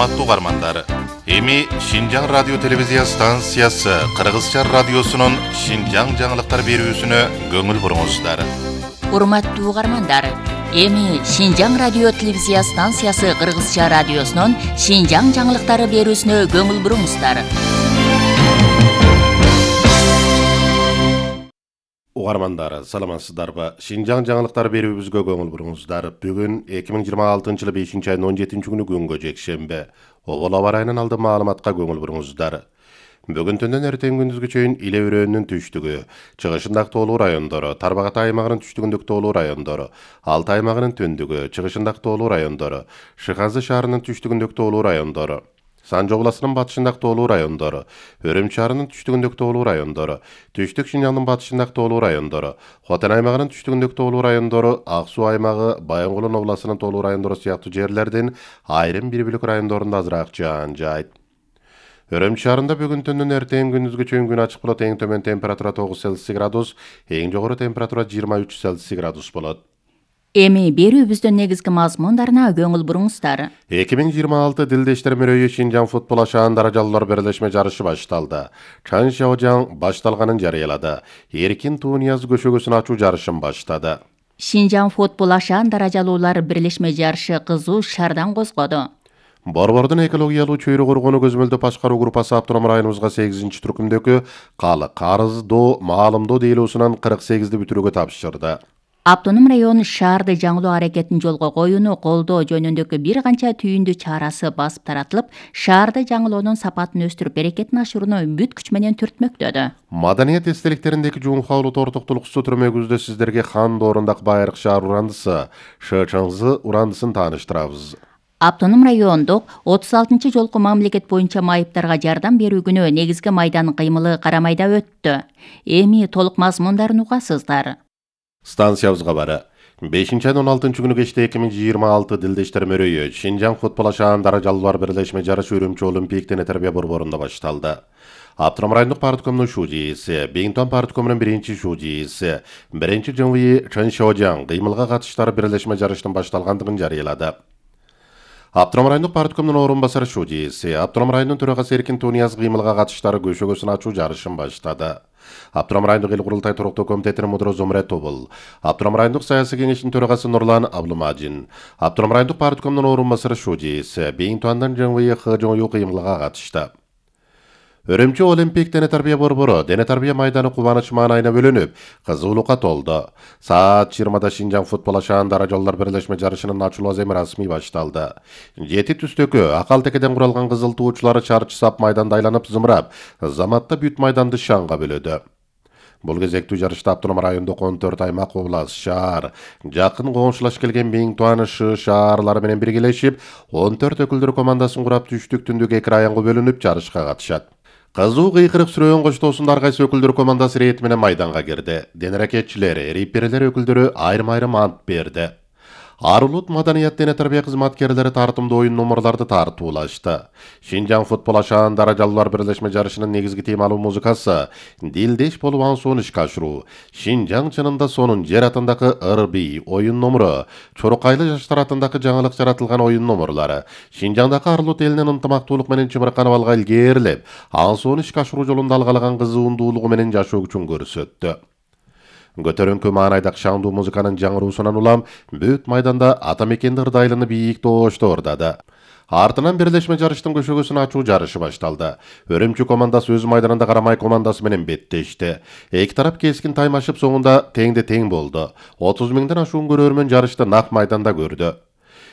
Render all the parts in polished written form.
Урматтуу угармандар, эми Шинжаң радио телевизия станциясы Кыргызча радиосунун Шинжаң жаңылыктар берүүсүнө көңүл буруңуздар. Урматтуу угармандар, эми Шинжаң радио телевизия станциясы Кыргызча радиосунун Шинжаң жаңылыктары берүүсүнө көңүл буруңуздар. Угармандар, саламатсыздарбы? Шинжаң жаңылыктар берүүбүзгө көңүл буруңуздар. Бүгүн 2026-жылы 5-айдын 17-күнү күнгө жекшембе. Обол аба ырайынан алдын маалыматка көңүл буруңуздар. Бүгүн түндөн эртең күндүзгө чейин Иле өрөөнүнүн түштүгү, чыгышындагы тоолуу райондору, Тарбагатай аймагынын түштүгүндөгү тоолуу райондору, Алтай аймагынын түндүгү, чыгышындагы тоолуу райондору, Шыхазы шаарынын түштүгүндөгү тоолуу райондору, Санжы областынын батышындагы тоолуу райондору, Өрөм шаарынын түштүгүндөгү тоолуу райондору, Түштүк Шинжаңдын батышындагы тоолуу райондору, Хотен аймагынын түштүгүндөгү тоолуу райондору, Ак Суу аймагы, Баянгулдун областынын тоолуу райондору сыяктуу жерлердин айрым бир бөлүк райондорунда азыраак жаан жайт. Өрөм шаарында бүгүн түндөн эртең күндүзгө чейин күн ачык болот. Эң төмөн температура 9 Цельсий градус, эң жогору температура 23 Цельсий градус болот. Эми берүүбүздүн негизги мазмундарына көңүл буруңуздар. 2026 Дилдештер мөрөйү Шинжаң футбол ашаан даражалуулар бирлешме жарышы башталды. Чан Шаожаң башталганын жарыялады. Эркин Тунияз көшөгөсүн ачуу жарышын баштады. Шинжаң футбол ашаан даражалуулар бирлешме жарышы кызуу шаардан козгоду. Борбордун экологиялуу чөйрө коргоону көзмөлдөп башкаруу группасы автоном районубузга 8-түркүмдөгү Карыз Доо Маалымдоо дейлоосунан 48-ди бүтүрүүгө тапшырды. Автоном район шаарды жаңылоо аракетин жолго коюуну колдоо жөнүндөгү бир канча түйүндү чарасы басып таратылып, шаарды жаңылоонун сапатын өстүрүп, берекетин ашырууну бүт күч менен түртмөктөдү. Маданият эстеликтериндеки Жуунхаулу тортуктулуксу түрмөгүздө сиздерге хан доорунdak Байыркы шаар урандысы, Шычыңзы урандысын тааныштырабыз. Автоном райондук 36-чы жолку мамлекет боюнча майыптарга жардам берүү күнү негизги майдан кыймылы Карамайда өттү. Эми толук мазмундарын угасыздар. Станциябызга бары. 5-айдын 16-күнү кечте 2026 Дилдештер мөрөйү Шинжаң футбол ашаан даражалуулар бирлешме жарышы Үрүмчү Олимпик дене тарбия борборунда башталды. Автоном райондук парткомдун шуудииси, Бейинтон парткомунун биринчи шуудииси, биринчи ЖМВ Чан Шаожаң кыймылга катыштары бирлешме жарыштын башталгандыгын жарыялады. Автоном райондук парткомдун орун басары шуудииси, Автоном районунун төрагасы Эркин Тунияз кыймылга катыштары көшөгөсүн ачуу жарышын баштады. Автоном райондук эл курултай туруктуу комитетинин мудуру Зумре Тобул, Автоном райондук саясий кеңештин төрагасы Нурлан Аблымажин, Автоном райондук парткомдун орун басары шуудииси, Бейинтондун ЖМВ ХЖОЮ кыймылга катышты. Үрүмчү Олимпик дене тарбия борбору дене тарбия майданы кубаныч маанайына бөлүнүп, кызуулукка толду. Саат 20-да Шинжаң футбол ашаан даражалуулар бирлешме жарышынын ачылуу аземи расмий башталды. 7 түстөкү акал текеден куралган кызыл туучулары чарчы сап майданда айланып зымырап, заматта бүт майданды шаңга бөлөдү. Бул кезектүү жарышта Автоном райондук 14 аймак, область, шаар, жакын коңшулаш келген Бейинтон шаарлары менен биргелешип, 14 өкүлдөр командасын курап түштүк түндүк 2 районго бөлүнүп жарышка катышат. Кызуу кыйкырык сүрөөн коштоосунда ар кайсы өкүлдөр командасы ирети менен майданга кирди. Ден аракетчилер, реперлер өкүлдөрү айрым-айрым ант берди. Арулут маданият дене тарбия кызматкерлери тартымдуу оюн номерларды тартуулашты. Шинжаң футбол ашаан даражалуулар бирлешме жарышынын негизги темалуу музыкасы Дилдеш болуп аңсоону ишке ашыруу. Шинжаң чынында сонун жер атындагы ыр-бий оюн номуру, Чорукайлы жаштар атындагы жаңылык жаратылган оюн номурлары, Шинжаңдагы Арулут элинин ынтымактуулук менен чымырканып алга илгээрлеп, аңсоону ишке ашыруу жолунда алгалаган кызуундуулугу менен жашоо күчүн көрсөттү. Көтөрүңкү маанайдагы шаңдуу музыканын жаңыруусунан улам бүт майданда ата мекенди ырдайлыны бийик тоошто ордады. Артынан бирлешме жарыштын көшөгөсүн ачуу жарышы башталды. Өрүмчү командасы өз майданында Карамай командасы менен беттешти. Эки тарап кескин таймашып соңунда теңде тең болду. 30 миңден ашуун көрөрмөн жарышты нак майданда көрдү.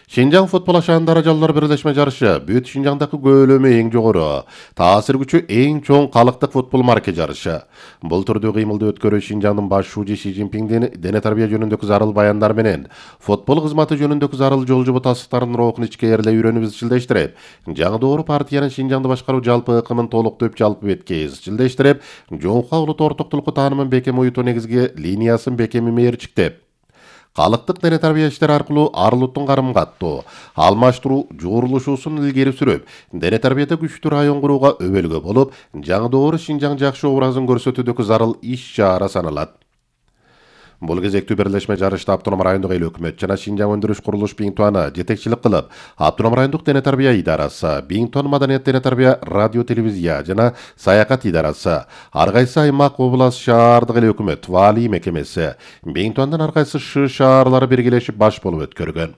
Шинжаң футбол ашаан даражалуулар бирлешме жарышы бүт Шинжаңдагы көөлөмү эң жогору, таасир күчү эң чоң калктык футбол марке жарышы. Бул түрдүү кыймылды өткөрүү Шинжаңдын баш шууji Ши Цзиньпиңдин дене тарбия жөнүндөгү зарыл баяндар менен футбол кызматы жөнүндөгү зарыл жолжобо тастыктарынын рухун ичке ээрлей үйрөнүп изчилдештирип, жаңы доору партиянын Шинжаңды башкаруу жалпы ыкымын толуктоп жалпы бетке изчилдештирип, Жуунхаулу тортуктулукку таанымын бекем уютуу негизги линиясын бекем мээрчиктеп, калктык дене тарбия иштери аркылуу Арулуттун карым-каттоо, алмаштыруу жуурулушуусун илгери сүрүп, дене тарбияда күчтүү район курууга өбөлгө болуп, жаңы доору Шинжаң жакшы образын көрсөтүүдөгү зарыл иш чара саналат. Бул кезектүү бирлешме жарышта Автоном райондук эл өкмөт жана Шинжаң өндүрүш курулуш Биңтуаны жетекчилик кылып, Автоном райондук дене тарбия идарасы, Биңтуан маданият дене тарбия радио телевизия жана саякат идарасы, ар кайсы аймак, област, шаардык эл өкмөт ваалий мекемеси, Биңтуандан ар кайсы шаарлары биргелешип баш болуп өткөргөн.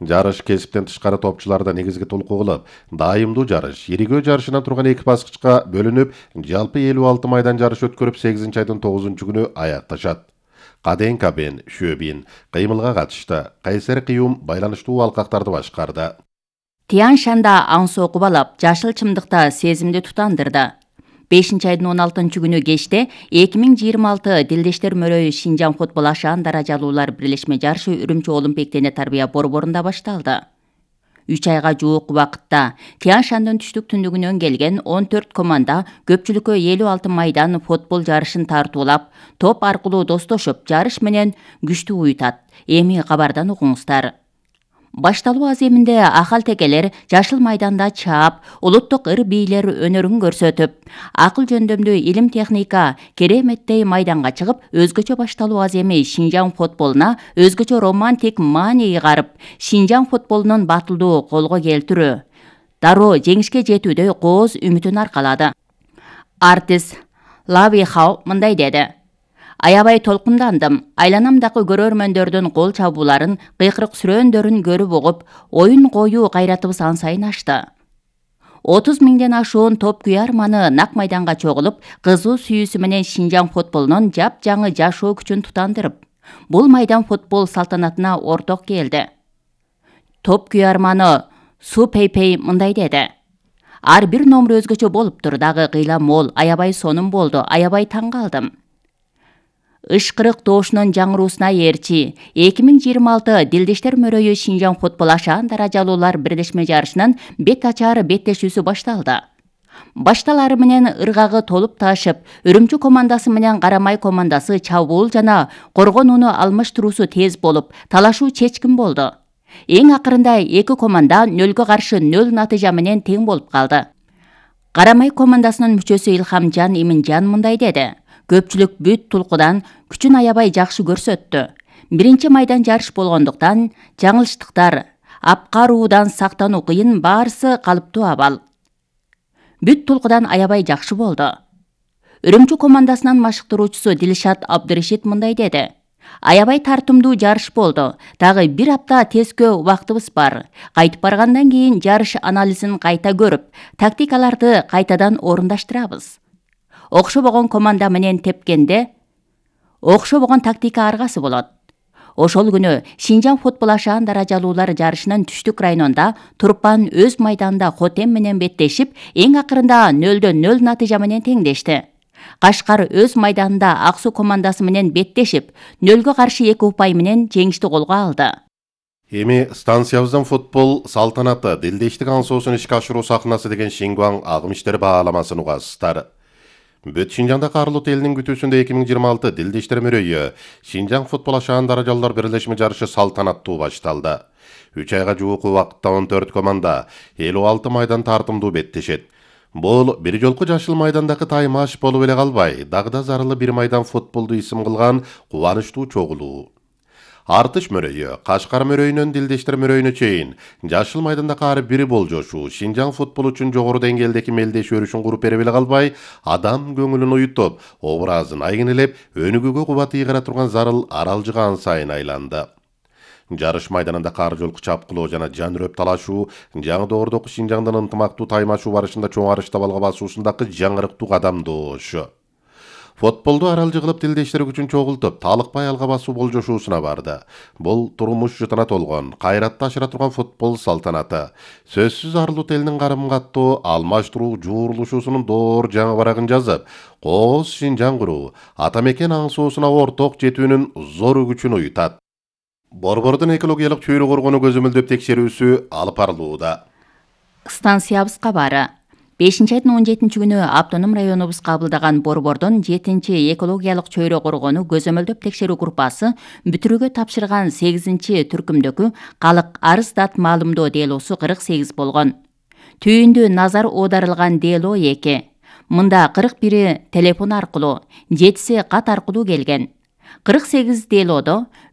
Жарыш кесиптен тышкары топчуларда негизги толку кылып, дайымдуу жарыш, иригөө жарышынан турган 2 баскычка бөлүнүп, жалпы 56 майдан жарыш өткөрүп 8-айдын 9-күнү аякташат. Каден Кабен, Шөбин кыймылга катышты. Кайсер Кыюм байланыштуу алкактарды башкарды. Тиян Шанда аң сокуп алып, жашыл чымдыкта сезимди тутандырды. 5-айдын 16-күнү кечте 2026 Дилдештер мөрөйү Шинжаң футбол ашаан даражалуулар бирлешме жарышы Үрүмчү Олимпик дене тарбия борборунда башталды. 3 айга жуук убакытта Тиян Шандын түштүк түндүгүнөн келген 14 команда көпчүлүккө 56 майдан футбол жарышын тартуулап, топ аркылуу достошуп, жарыш менен күчтүү уютат. Эми кабардан угуңуздар. Башталуу аземинде ахал-текелер жашыл майданда чаап, улуттук ыр-бийлер өнөрүн көрсөтүп, акыл жөндөмдүү илим техника кереметтей майданга чыгып, өзгөчө башталуу аземи Шинжаң футболуна өзгөчө романтик маани ыгарып, Шинжаң футболунун батылдуу колго келтирүү, дароо жеңишке жетүүдө кооз үмүтүн аркалады. Артист Лави Хау мындай деди: Аябай толкундандым. Айланамдагы көрөрмөндөрдүн кол чабууларын, кыйкырык сүрөөндөрүн көрүп угуп, оюн коюу кайратыбыз ан сайын ашты. 30 миңден ашуун топ күйарманы нак майданга чогулуп, кызуу сүйүүсү менен Шинжаң футболунун жап-жаңы жашоо күчүн тутандырып, бул майдан футбол салтанатына орток келди. Топ күйарманы Су Пейпей мындай деди: Ар бир номер өзгөчө болуптур, дагы кыйла мол, аябай сонун болду, аябай таң калдым. Ышкырык тоошунун жаңыруусуна ээрчи 2026 Дилдештер мөрөйү Шинжаң футбол ашаан даражалуулар бирлешме жарышынын бет ачары беттешүүсү башталды. Башталары менен ыргагы толуп таашып, Үрүмчү командасы менен Карамай командасы чабуул жана коргонууну алмаштыруусу тез болуп, талашуу чечкин болду. Эң акырында 2 команда 0-га каршы 0 натыйжа менен тең болуп калды. Карамай командасынын мүчөсү Илхамжан Иминжан мындай деди: Көпчүлүк бүт тулкудан күчүн аябай жакшы көрсөттү. Биринчи майдан жарыш болгондуктан жаңылыштыктар, апкаруудан сактануу кыйын, баарысы калыптуу абал. Бүт тулкудан аябай жакшы болду. Үрүмчү командасынын машыктыруучусу Дилшат Абдырашид мындай деди: Аябай тартымдуу жарыш болду. Дагы 1 апта тескөө убактыбыз бар. Кайтып баргандан кийин жарыш анализин кайта көрүп, тактикаларды кайтадан орундаштырабыз. Окшобогон команда менен тепкенде окшобогон тактика аргасы болот. Ошол күнү Шинжаң футбол ашаан даражалуулар жарышынын түштүк районунда Турпан өз майданында Хотем менен беттешип, эң акырында 0-0 натыйжа менен теңдешти. Кашкар өз майданында Ак Суу командасы менен беттешип, 0-га каршы 2 упай менен жеңишти колго алды. Эми станциябыздан футбол салтанаты Дилдештик аң соосун ишке ашыруу сахнасы деген Шингуаң агым иштери бааламасын угасыздар. Бүт Шинжаңда Карлут элинин күтүүсүндө 2026 Дилдештер мөрөйү Шинжаң футбол ашаан даражалуулар бирлешме жарышы салтанаттуу башталды. 3 айга жуук убакытта 14 команда 56 майдан тартымдуу беттешет. Бул бир жолку жашыл майдандагы таймаш болуп эле калбай, дагы да зарылы бир майдан футболду исим кылган кубанычтуу чогулуу. Артыш мөрөйү, Кашкар мөрөйүнөн Дилдештер мөрөйүнө чейин жашыл майданда ар бири болжошуу, Шинжаң футбол үчүн жогору деңгээлдеги мелдеш өрүшүн куруп бере эле калбай, адам көңүлүн уютуп, образын айгинелеп, өнүгүүгө кубат ыйгара турган зарыл аралжыга ан сайын айланды. Жарыш майданында кар жолку чапкылоо жана жан үрөп талашуу, жаңы доордогу Шинжаңдын ынтымактуу таймашуу барышында чоң арышта балга басуусундагы жаңырыктуу кадамдоошу. Футболду аралжы кылып Дилдештер күчүн чогултуп, талыкпай алга басуу болжошуусуна барды. Бул турмуш жытына толгон, кайратты ашыра турган футбол салтанаты. Сөзсүз Арлут элинин карым-каттуу, алмаштыруу, жуурулушуусунун доор жаңы барагын жазып, кооз Шинжаң куруу, ата мекен аң соосуна орток жетүүнүн зор күчүн уютат. Борбордун экологиялык чөйрө коргонуу көзөмөлдөп текшерүүсү алып барылууда. Станциябыз кабары. 5-айдын 17-күнү Автоном районубуз кабылдаган борбордун 7-чи экологиялык чөйрө коргонуу көзөмөлдөп текшерүү группасы бүтүрүүгө тапшырган 8-чи түркүмдөгү калык арыз дат маалымдоо делосу 48 болгон. Түйүндү назар оодарылган дело 2. Мында 41 телефон аркылуу, 7си кат аркылуу келген. 48 делодо